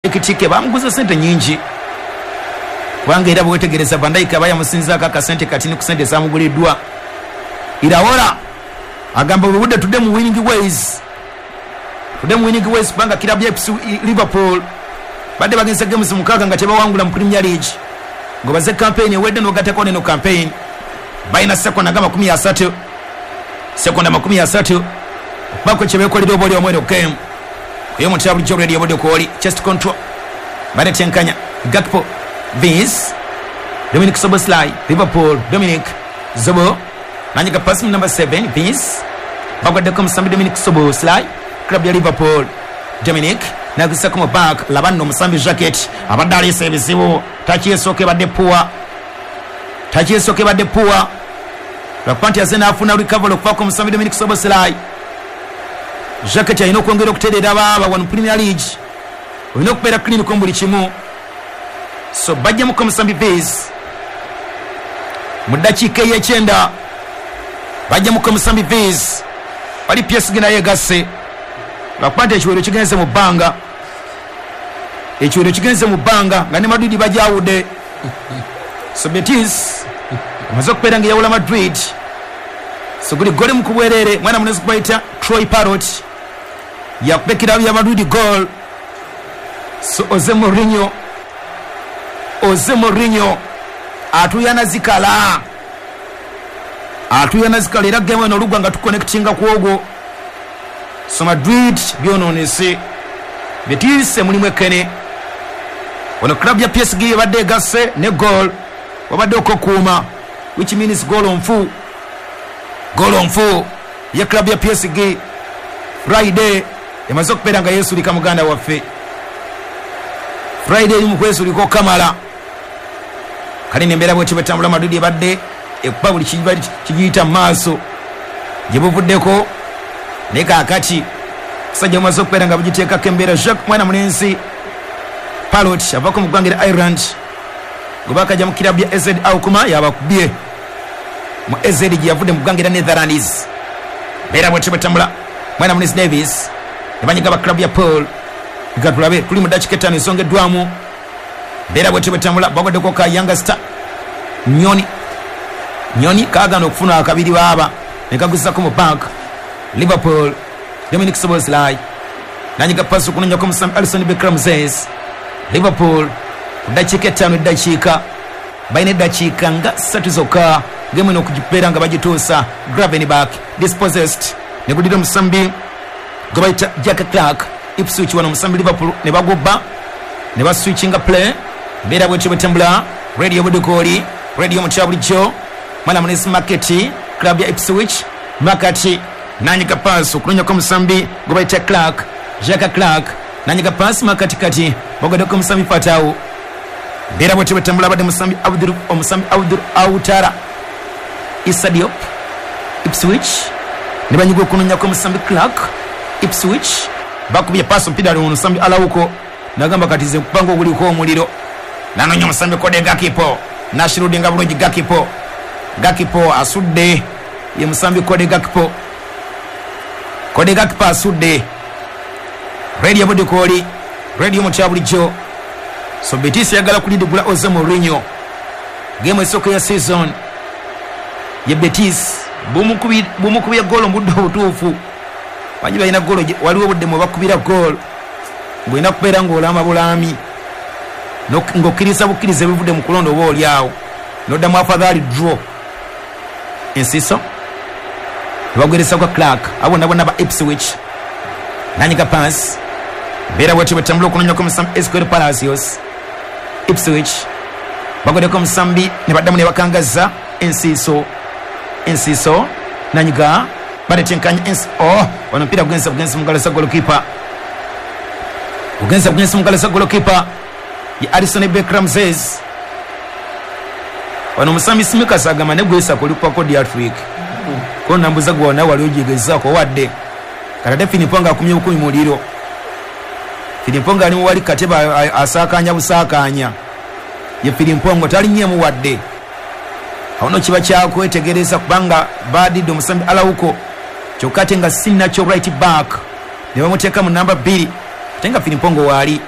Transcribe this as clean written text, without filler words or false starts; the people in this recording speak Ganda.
Ekitike bamuguza sente nyingi kubanga era bwetegereza Van Dijk aba yamusinzaako akasente katini ku sente ezamuguliddwa. Iraola agamba obudde tudde mu winning ways, tudde mu winning ways kubanga kirabu ya Liverpool badde bagenze games 6 nga tebawangula mu Premier League, ngobaze campaign ewedde n'ogattako neno campaign balina sekonda nga 30, sekonda 30 bako kyebeekolera oba oli omweno game oyo omuntu bulijjo radio obudde kwoli chest control banetenkanya Gakpo, Vince, Dominic Szoboszlai, Liverpool, Dominic Zobo nanyiga pass number 7 Vince bagwaddeko omusambi Dominic Szoboszlai club ya Liverpool. Dominic nagusako mu back labanno omusambi Jacket abadde aleese ebizibu, takyesooka ebadde puwa, takyesooka ebadde puwa lwakuba nti aze n'afuna recovery okuvaako omusambi Dominic Szoboszlai. Jacket alina okwongera okutereera baaba wano Premier League, olina okubeera clinical mu buli kimu. So bajjamuko omusambi Vince mu ddakiika ey'ekyenda, bajjamuko omusambi Vince wali PSG naye egasse lwakuba nti ekiwero kigenze mu bbanga, ekiwero kigenze mu bbanga nga ne Madrid bajawudde. So Betis amaze okubeera nga eyawula Madrid, so guli goli mu kubwerere mwana munezi kubayita Troy Parrott yakuba ekirabu ya Madrid goal. So Jose Mourinho, Jose Mourinho atuyana zikala, atuyana zikala era game eno olugwa nga tuconnectinga ku ogwo. So Madrid byonoonese, Betis mulimu ekene. Ono club ya PSG ebadde egasse ne goal wabadde okokuuma, which means goal nfu, goal nfu ya club ya PSG. Friday emaze okubeera nga yeesulika muganda waffe, Friday eri mu kwesulika okamala. Kale nembeera bwetyo bwetambula, Madrid ebadde ekuba buli kigiyita mu maaso gye buvuddeko, naye kaakati musajja bumaze okubeera nga bugiteekako embeera. Jacques mwana mulenzi Parrott avako mu ggwanga erya Ireland gwe bakajja mu kirabu ya AZ Alkmaar yabakubye mu AZ gye yavudde mu ggwanga erya Netherlands. Mbeera bwetyo bwetambula, mwana mulenzi Davis ne banyiga ba club ya Paul. Nga tulabe tuli mu ddakiika 5 esongeddwamu. Mbeera bwetyo bwetambula, bagwaddeko ka Younger Star Nyoni, Nyoni kaagaana okufuna akabiri baaba ne kaguzako mu bank. Liverpool Dominic Szoboszlai nanyiga pasi okunonyako omusambi Alisson Becker Ramses. Liverpool ku ddakiika 5, eddakiika balina eddakiika nga 3 zokka gemu eno okugibeera nga bagituusa. Gravenberch dispossessed ne gudira omusambi gwe bayita Jack Clark. Ipswich wano omusambi Liverpool ne bagubba ne baswitchinga play. Mbeera bwetyo bwetambula, radio budukooli radio mutya bulijjo mwana munesi Market club ya Ipswich. Market nanyiga paasi okunonyako omusambi gwe bayita Clark, Jack Clark nanyiga paasi makatikati bagwaddeko omusambi Fatawu. Mbeera bwetyo bwetambula, abadde musambi Abdul, omusambi Abdul Outara Issa Diop. Ipswich ne banyiga okunonyako omusambi Clark. Ipswich bakubye paasi omupiira ali omusambi Alauko nagamba kati ze nkupanga oguliko omuliro, nanonya omusambi Kode Gakpo nashirudinga bulungi. Gakpo, Gakpo asudde, ye musambi Kode Gakpo, Kode Gakpo asudde. Radio budikooli radio mutya bulijjo. So Betis yagala kulidigula Jose Mourinho game esooka ya season ye Betis bumukubye goolo mu budde obutuufu. Bangi balina goolo, waliwo obudde mwe bakubira goolo ng'olina kubeera ng'olama bulami ng'okkiriza bukkiriza ebivudde mu kulonda oba oli awo n'oddamu afadhaali draw. Ensiso nebagweresa kwa Clark, abo bonna bonna ba Ipswich nanyiga pass. Mbeera bwetyo bwetambula okunonyako omusambi Ezequiel Palacios. Ipswich bagweddeko omusambi ne baddamu ne bakangaza ensiiso, ensiiso nanyiga batetenkanya oh, wano omupiira gugenze bugenzi mu ngalo za golokipa, gugenze bugenzi mu ngalo za golokipa ye Alisson Becker Ramses. Wano omusambi Simikasi agamba ne gwesako olikukwako Diatrick ko nambuza gwe nawe wali ogigezaako wadde kati ate Filipongo akumye bukumi muliro. Filipongo ali muwali kateba asaakanya busaakanya, ye Filipongo talinnyemu wadde. Awo no kiba kyakwetegereza kubanga badidde omusambi Alauko kyokka ate nga si nakyo right back ne bamuteeka mu namba 2 ate nga Filipongo waali.